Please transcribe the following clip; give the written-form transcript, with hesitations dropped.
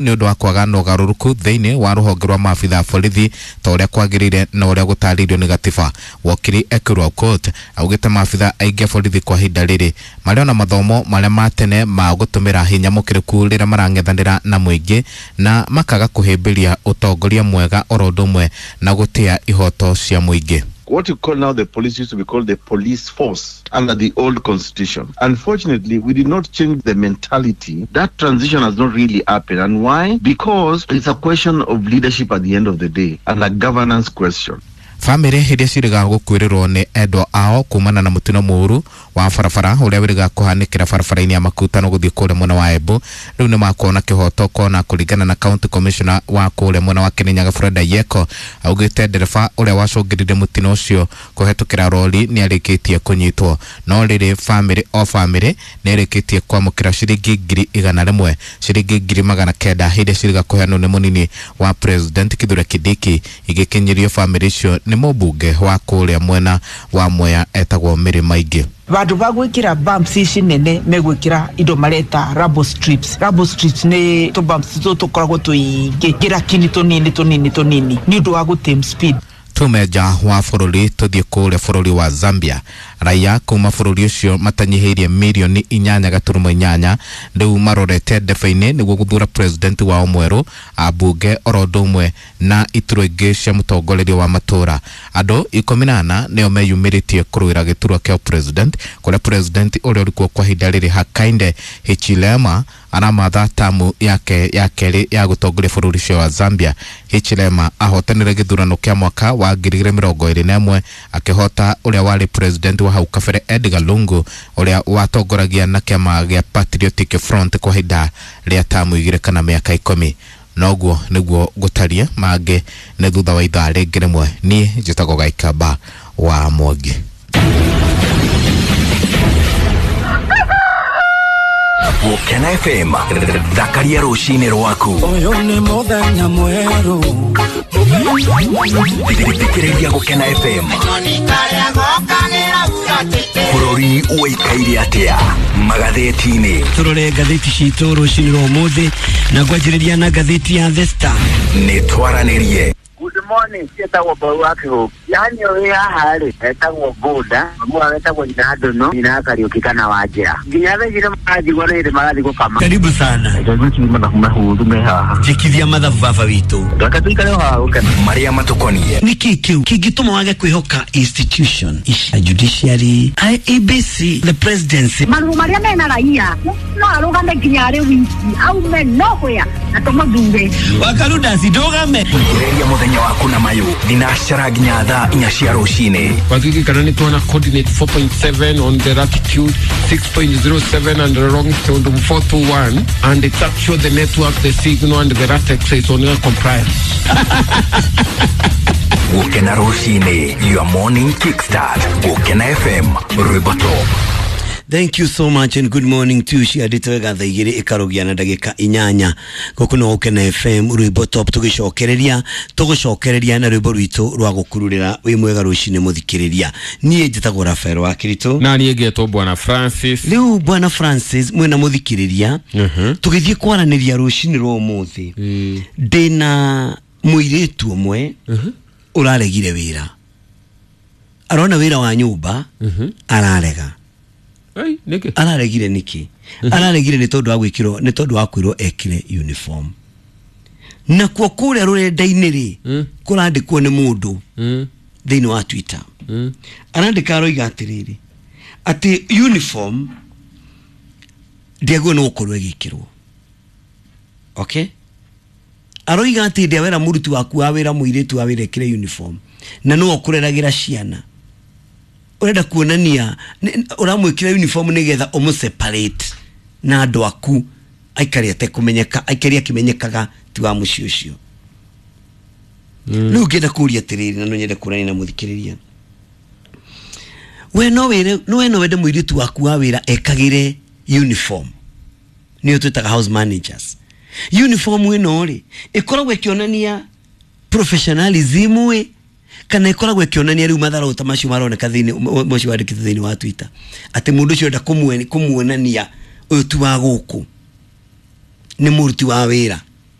Nĩ ũndũ wa kwaga na ũgarũrũku thĩinĩ wa rũhonge rwa maabitha a borithi ta ũrĩa kwagĩrĩire na ũrĩa gũtarĩirio nĩ gatiba. Wakiri Ekuru Aukot augĩte maabitha aingĩ a borithi kwa ihinda rĩrĩ marĩ ona mathomo marĩa ma tene ma gũtũmĩra hinya mũkĩrĩku rĩrĩa marang'ethanĩra na mũingĩ na makaga kũhĩmbĩria ũtongoria mwega oro ũndũ ũmwe na gũtĩa ihoto cia mũingĩ. What you call now the police used to be called the police force under the old constitution. Unfortunately, we did not change the mentality. That transition has not really happened. And why? Because it's a question of leadership at the end of the day and a governance question. Bamĩrĩ iria ciĩrĩga gũkuĩrĩrwo nĩ endwa ao kumana na mũtino mũũru wa barabara ũrĩa wĩrĩga kũhanĩkĩra barabara-inĩ ya Makutano gũthiĩ kũrĩa mwena wa Embu rĩu nĩ makuona kĩhoto kona kũringana na county commissioner wa kũrĩa mwena wa Kirinyaga Fred Ayieko augĩte ndereba ũrĩa wacũngĩrĩire mũtino ũcio kũhetũkĩra rori nĩ arĩkĩtie kũnyitwo. No rĩrĩ, bamĩrĩ o bamĩrĩ nĩ ĩrĩkĩtie kwamũkĩra ciringi 100,000, ciringi 900,000 iria ciĩrĩga kũheanwo nĩ mũnini wa president Kithure Kindiki igĩkinyĩrio bamĩrĩ icio nĩ mũmbunge wa kũrĩa mwena wa Mwea etagwo Mary Maingĩ. Vandu va gwikira bumps ici nene megwikira indo mareta rubble strips. Rubble strips ni tu bumps tu tukoragwo tuingi ngirakini tunini tunini tunini ni undu wa gutame speed. Tume nja wa bũrũri tũthiĩ kũrĩa bũrũri wa Zambia. Raia kuma bũrũri ũcio matanyihĩirie 8.8 mirioni rĩu marorete ndebe-inĩ nĩguo gũthura president wao mwerũ, ambunge oro ũndũ ũmwe na iturwa ingĩ cia mũtongoreria wa matũra. Andũ 14 nĩo meyumĩrĩtie kũrũĩra gĩturwa kĩa president, kũrĩa president ũrĩa ũrĩ kuo kwa ihinda rĩrĩ Hakainde Hichilema aramatha tamu yake ya kerĩ ya gũtongoria bũrũri ũcio wa Zambia. Hichilema ahotanire gĩthurano kĩa mwaka wa 2021 akĩhota ũrĩa warĩ president wa hau kabere Edgar Lungu ũrĩa watongoragia na kĩama gĩa Patriotic Front kwa ihinda rĩa tamu 2 kana mĩaka 10. Noguo nĩguo gũtaria mangĩ nĩ thutha wa ithaa rĩngĩ rĩmwe. Niĩ njĩtagwo Gaikamba wa Mwangi. Gũkena FM, thakaria rũcinĩ rwaku. Ũyũ nĩ mũthenya mwerũ. Thikĩrĩria Gũkena FM. Bũrũri ũikaire atĩa magathĩti-inĩ? Tũrore ngathĩti citũ rũcinĩ rwa ũmũthĩ na ngwanjĩrĩria na ngathĩti ya The Star. Nĩ twaranĩrie. Good morning, ciĩtagwo Mbau wa Kĩhũngĩ. Yani ũrĩ haha rĩ, etagwo Bũnda, mamu wao etagwo nyina Ndũnũ, nyina Kariũki kana Wanjĩra. Nginya thaa ici nĩ maranjigua nĩ hĩndĩ marathiĩ gũkama. Karibu sana. Mathabu mahũthũ me haha. Njĩkithia mathabu baba witũ. Reke tũikare o haha gũkena. Marĩa matũkoniĩ. Nĩkĩ kĩu kĩngĩtũma wage kwĩhoka institution ici, judiciary, IEBC, the presidency? Marũa marĩa mena raia no arũgame nginya arĩ wiki aume nowhere na tũmũthure. Wakarudasi ndũgame. Thikĩrĩria mũthenya waku na mayũ thinacara nginya thaa 4 cia rũcinĩ. Waziri nĩ tuona coordinate 4.7 on the latitude, 6.07 and the longitude 421, and it's actually the network, the signal and the latex is on compliance. Gũkena rũcinĩ, your morning kickstart. Gũkena FM, rwĩmbo top. Thank you so much and good morning to you. Ciandĩte wega thaa 2 ĩkarogia na ndagĩka 8 gũkũ no Gũkena FM, rwĩmbo top. Tũgĩcokereria tũgũcokereria na rwĩmbo rwitũ rwa gũkururĩra. Wĩ mwega rũcinĩ mũthikĩrĩria, niĩ njĩtagwo Rafael wa Kiritũ. Na niĩ ngetwo Bwana Francis. Rĩu Bwana Francis mwĩna mũthikĩrĩria, tũgĩthiĩ kwaranĩria rũcinĩ rwa ũmũthĩ ndĩna mũirĩtu ũmwe ũraregire wĩra, arona wĩra wa nyũmba ararega. Ai, nĩkĩ? Araregire nĩkĩ? Araregire nĩ tondũ wa gwĩkĩrwo, nĩ tondũ wa kwĩrwo ekĩre uniform. Nakuo kũrĩa rũrenda-inĩ rĩ, kũrandĩkwo nĩ mũndũ thĩinĩ wa Twitter, arandĩka aroiga atĩrĩrĩ, atĩ uniform ndĩagĩrĩirwo nĩ gũkorwo ĩgĩkĩrwo. Okay, aroiga atĩ ndĩa wera mũruti waku wa wĩra, mũirĩtu wa wĩra, ekĩre uniform na nĩwe ũkũreragĩra ciana, ũrenda kuonania ũramwĩkĩra uniform nĩgetha ũmũ separate na andũ aku, aikare atekũmenyeka, aikare akĩmenyekaga ti wa mũciĩ ũcio. Rĩu ngĩenda kũria atĩrĩrĩ, na no nyende kũrania na mũthikĩrĩria, we no wĩre no we no wende mũirĩtu waku wa wĩra ekagĩre uniform, nĩyo twĩtaga house managers uniform? Ĩno rĩ, ĩkoragwo ĩkĩonania professionalism ĩ, kana ĩkoragwo ĩkĩonania rĩu matharau ta macio maroneka thĩinĩ mũcio wandĩkĩte thĩinĩ wa Twitter, atĩ mũndũ ũcio enda kũmuonania ũyũ ti wa gũkũ, nĩ mũruti wa wĩra?